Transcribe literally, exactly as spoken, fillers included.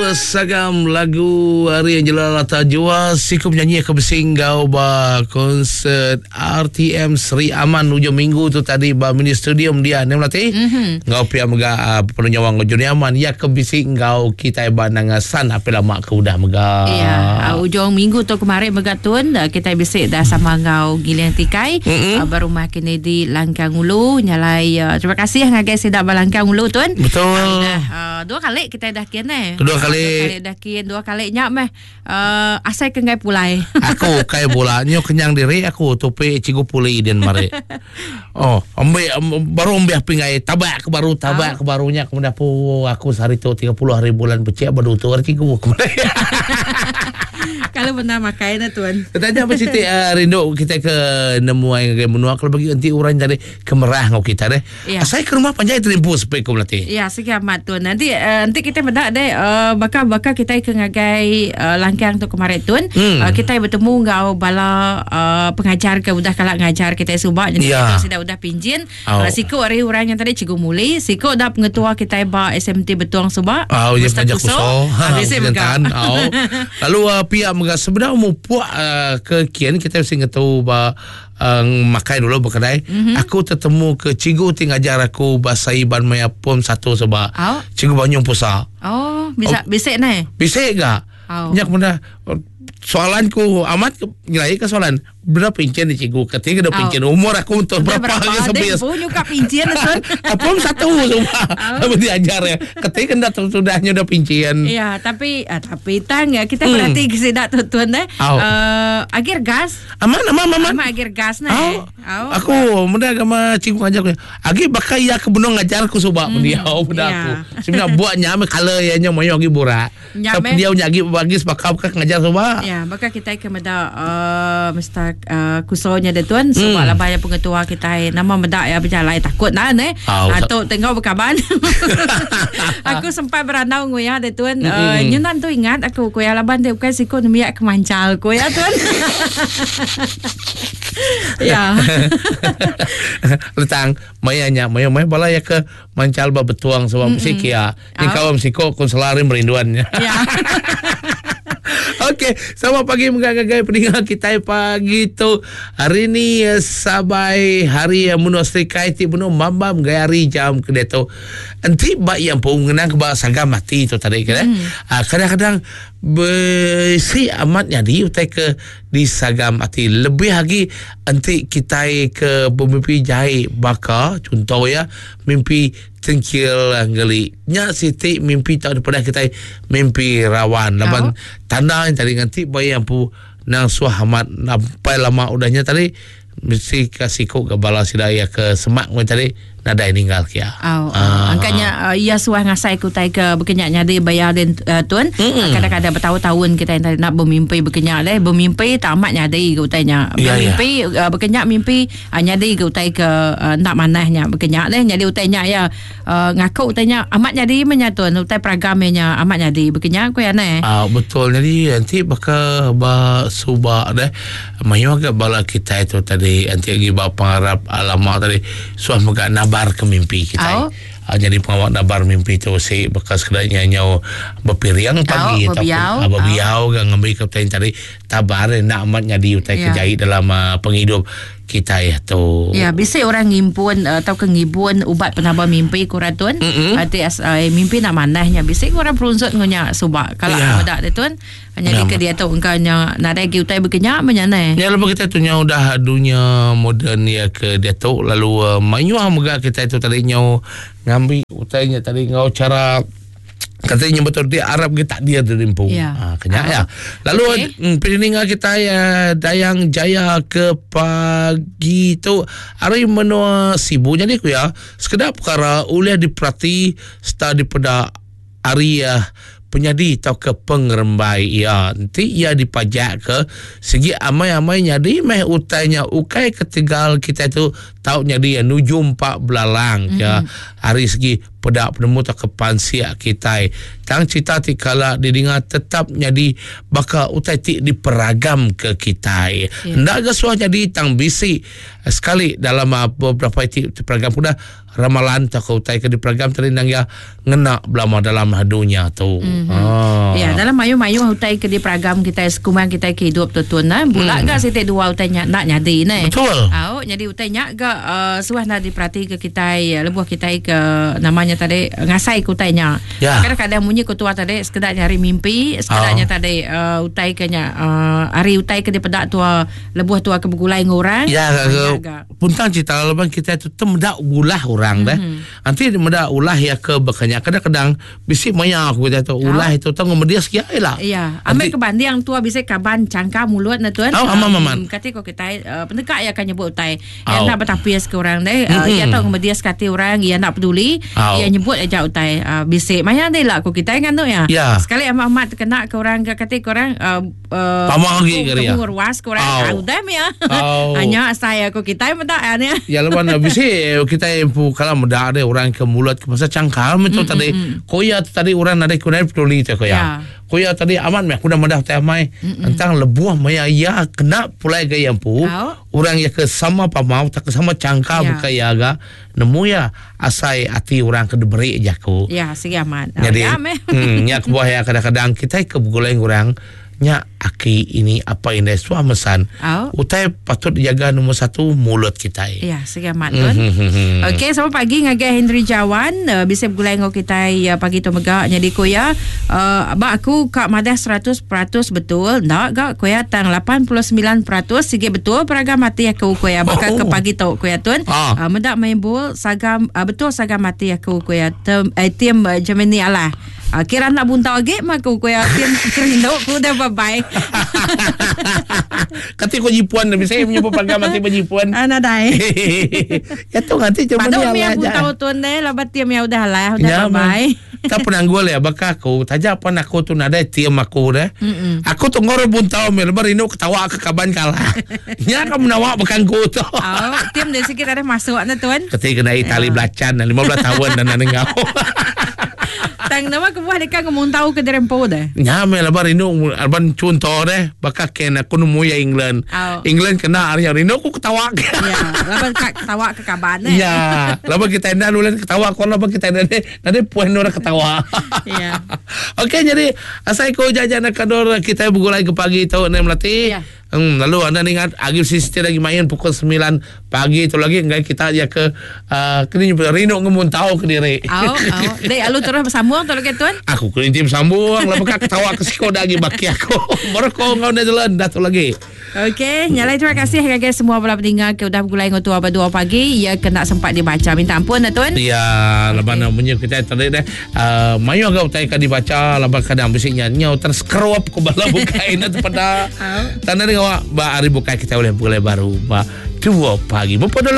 Sagam lagu hari Angela Lata Jua siku penyanyi ke bersinggau ba konsert R T M Sri Aman hujung minggu tu tadi ba mini stadium dia ni melati. Mm-hmm. Ngau pia mega uh, penuh nyawa ngau Juni Aman ya ke bising ngau kita ba nangasan apa lama ke udah mega. Ya, uh, hujung minggu tu kemarin mega tun kita bisik dah sama ngau Giling Tikai mm-hmm. uh, berumah kini di Langkang Ulu nyalai uh, terima kasih ngagai sidak ba Langkang Ulu tun. Betul. Uh, dah uh, dua kali kita dah kian eh. Dua kali. Dua kali dah kian, dua kali nyak meh. Uh, asai ke ngai pulai. Aku kai bola nyo kenyang diri aku topi cikgu puli den mari. Oh, ambe baru ambe pingai tabak ke baru tabak oh. ke barunya kemudian pu aku sehari tu tiga puluh hari bulan becek baru tu hari cikgu kemarin. Kalau benar makai na tuan. Tanya apa cerita uh, rindu kita ke nemuai ke menua kalau bagi nanti orang tadi kemerah ngau kita deh. Ya. Saya ke rumah panjai terimpu sepek ko melati. Ya, segi amat tuan. Nanti uh, nanti kita bedak deh uh, bakal bakal kita ke ngagai uh, Langkang tu kemarin tuan. Hmm. Uh, kita bertemu ngau bala uh, pengajar ke udah kalak ngajar kita subak jadi ya. Kita sudah udah pinjin. Oh. Uh, siku hari orang yang tadi cikgu Muli, siku dah pengetua kita ba S M T Betuang subak. Oh, ya panjang kuso. Ha, bisa mega. Oh. Lalu uh, pihak mega sebenarnya mupuk uh, ke kian kita mesti ngetu ba uh, makai dulu berkedai. Mm-hmm. Aku tertemu ke cikgu ti ngajar aku bahasa Iban maya pom satu sebab. Oh. Cikgu Banyung Pusa. Oh, bisa oh. bisik ne. Bisik gak? Oh. Nyak benda soalanku amat nilai ke soalan berapa pincin ni cikgu ketiga dah pincin oh. Umur aku untuk berapa berapa sebias pun juga pincin tuan. Apa satu semua oh. Diajar ya ketiga dah sudahnya dah pincin. Ya tapi ah, tapi tang ya kita hmm. berarti kesidak tu tuan eh oh. uh, akhir gas aman aman aman aman akhir gas nah oh. Oh. Aku muda agama cikgu ngajar aku agi bakal ya ke benung ngajar aku subak hmm. dia muda ya. Aku sebenarnya buatnya ame kala ya nya moyo agi borak tapi dia nyagi bagi sebab kau ngajar subak. Ya, maka kita ke meda uh, Mister uh, kusonya dia tuan sebab hmm. lah banyak pengetua kita nama medak ya berjalan takut nah eh oh, atau tengok berkaban. Aku sempat berandau nguya dia tuan hmm. uh, nyunan tu ingat aku kuya laban dia bukan siku nemiak kemancal kuya tuan. Ya. Letang mayanya maya maya bala ya ke mancal ba betuang sebab mm-hmm. sikia. Ni Oh. kawam siko konselari merinduannya. Ya. Okey, selamat pagi mengagai pendengar kita pagi tu. Hari ni sabai hari yang menua serikai ti menua mambam gaya hari jam ke dia tu. Enti bak yang pun mengenang ke bak sagam mati tu tadi kan. Hmm. Ah, kadang-kadang besi amat jadi utai ke di sagam mati. Lebih lagi enti kita ke bermimpi jahit bakar contoh ya mimpi tengkil ngeli nya siti mimpi tak daripada kita mimpi rawan laban oh. Tanda yang tadi nganti bayi yang pu nang suah amat sampai lama udahnya tadi mesti kasih kok ke bala sidaya ke semak ngoi tadi nadai ninggal kia. Oh, Ah. angkanya uh, ia suah ngasai ku tai ke berkenyak nyadi bayar den uh, tuan. Mm-mm. Kadang-kadang bertahun-tahun kita yang tadi nak bermimpi berkenyak leh, bermimpi tak amat nyadi ke utainya. Ya, ya. Bermimpi uh, berkenyak mimpi uh, nyadi ke utai ke uh, nak manahnya berkenyak leh nyadi utainya ya uh, ngaku utainya amat nyadi menyatuan utai peragamnya amat nyadi berkenyak ku ya ne. Ah, betul. Jadi nanti bakal ba subak deh. Mayu agak bala kita itu tadi nanti lagi ba pengarap alamak tadi suah megak nabar ke mimpi kita. Oh. Ah, jadi pengawak nabar mimpi tu si bekas kedanya nyau berpiriang pagi Oh, berbiau. ah, berbiau oh. Ngambil ke utai tadi tabar nak amat nyadi utai Ya. kejahit dalam uh, penghidup kita ya tu. Ya, bisa orang ngimpun atau ke ngibun ubat penambah mimpi kuratun. Mm-mm. Ati as uh, mimpi nak manahnya bisa orang perunsut ngunya subak. Kalau Ya. yeah. dak tuan hanya Ya. di ke dia tu engkaunya nadai gi utai berkenyak menyane. Ya lepas kita tu nya udah dunia moden ya ke dia tu lalu uh, mayuh mega kita itu tadi nyau ngambil utainya tadi ngau cara katanya betul dia Arab ke tak dia terimpu. Ya. Ha, kenyak Ah. ya. Lalu Okey. okay. Pendengar kita ya Dayang Jaya ke pagi tu hari menua Sibu jadi ku ya sekedar perkara oleh diperhati serta dipeda hari ya penyadi atau ke pengerembai ya nanti ia dipajak ke segi amai-amai nyadi meh utainya ukai ketegal kita tu Tau jadi nujum pak belalang mm-hmm. ya hari segi pedak penemu tak kepansia kita. Tang cerita ti kala didengar tetap jadi baka utai ti diperagam ke kita. Yeah. Ndak ga suah jadi tang bisi sekali dalam beberapa ti diperagam pun dah ramalan tak utai ke diperagam tadi nang ya ngena belama dalam dunia tu. Mm-hmm. Ah. Ya, dalam mayu-mayu utai ke diperagam kita sekumang kita ke hidup tu tun nah. Bulak mm. ga sitik dua utai nya nak nyadi ne. Betul. Au jadi utai nya ga uh, suah nak diperhati ke kita lebuh kita ke namanya tadi ngasai ke utai nya. Ya. Kadang-kadang munyi ke tua tadi sekedar nyari mimpi, sekedarnya oh. tadi uh, utai ke nya uh, hari utai ke dipedak tua lebuh tua ke begulai ngurang. Ya, ga puntang cerita leban kita tu temedak ulah orang dah. Mm-hmm. Nanti medak ulah ya ke bekanya kadang-kadang bisi maya aku kata tu ulah oh. itu tang media sekia lah. Ya, ambil kebanding tua bisa kaban cangka mulut na tuan. Oh, amam aman. Kata ko kita uh, pendekat ya akan nyebut utai. Ya nak bertapis ke orang deh. Uh, mm-hmm. Ya tahu media sekati orang ya nak peduli, oh. ya nyebut aja utai uh, bisi maya deh lah ko kita kan tu ya. ya. Sekali amat-amat terkena ke orang ke kata ke orang uh, uh, pamang lagi ke dia. Ruas ke orang oh. udah ya. Oh. Hanya saya ko kita medak ya ni. Ya leban bisi kita empu kalau medak ada orang ke mulut ke pasal cangkal macam mm-hmm. tadi koya tadi orang ada kunai peduli tu koya. Ya. Koya tadi aman meh aku dah medah teh mai tentang lebuh maya ya kena pulai ke empu oh. orang ya ke sama pamau tak ke sama cangkal ya. buka ya aga nemu ya asai ati orang ke diberi jaku. Ya sigi aman. Jadi ya, hmm nya kebuah ya kadang-kadang kita ke begulai orang nya aki ini apa ini suah mesan. Oh. Utai patut dijaga nombor satu mulut kita. Ya, sigi amat tuan. Okey, selamat pagi ngagai Henry Jawan, uh, bisa bergulai ngau kita uh, pagi tu mega jadi koya uh, abak aku kak madah seratus peratus betul. Ndak gak koya tang lapan puluh sembilan peratus sigi betul peragam mati aku koya bakal Oh. ke pagi tu koya tuan. Ah. Uh, mendak main bol sagam uh, betul sagam mati aku koya tem eh, tim uh, Germany alah. Uh, kira nak buntau lagi mah aku koya tim rindu ku dah bye bye. Kati ko jipuan lebih saya punya program mati jipuan. Ah nadai. Ya tu nanti cuma Padahal dia mi lah aku aja. tahu tuan deh lah berarti mi udah lah udah Ya, bye bye. Tak penanggul ya bakal aku taja apa aku tu nadai tiam aku deh. Mm-mm. Aku tu ngor buntau mi lebar rindu ketawa ke kaban kalah. Nya kamu nawak bukan ku tu. Oh, tiam dari sikit ada masuk na tuan. Ketika kena Itali belacan lima belas tahun dan nang ngau. Tang nama kebuah dekat ngomong tahu ke derempo deh. Nya me lebar rindu alban contoh deh bakal ken aku nemu ya England. Oh. England kena hari rindu aku ketawa. Ya, laban kak ketawa ke kaban eh. Ya, lama kita enda lulan ketawa kau lama kita enda nanti puan orang ketawa. Ya. Okey jadi asai ko jajan kador kita bergulai ke pagi tu nem melati. Ya. Hmm, lalu anda ingat Agil Sister lagi main pukul sembilan pagi tu lagi enggak kita ya ke uh, kini rindu ngemun tahu ke diri. Au, au. Dek alu terus bersambung tu lagi tuan. Aku kena tim sambung lama kak ketawa ke siko lagi baki aku. Mereka ngau Netherlands dah tu lagi. Okey, nyalai terima kasih kepada semua bala pendengar ke udah bergulai dengan tua berdua pagi. Ya kena sempat dibaca. Minta ampun dah tuan. Ya, lepas okay. Punya kita tadi dah uh, mayu agak utai kan dibaca lepas kadang bisiknya nyau terskerup ke bala bukai na pada. Tanda dengan awak ba hari bukai kita boleh bergulai baru ba dua pagi. Berapa dulu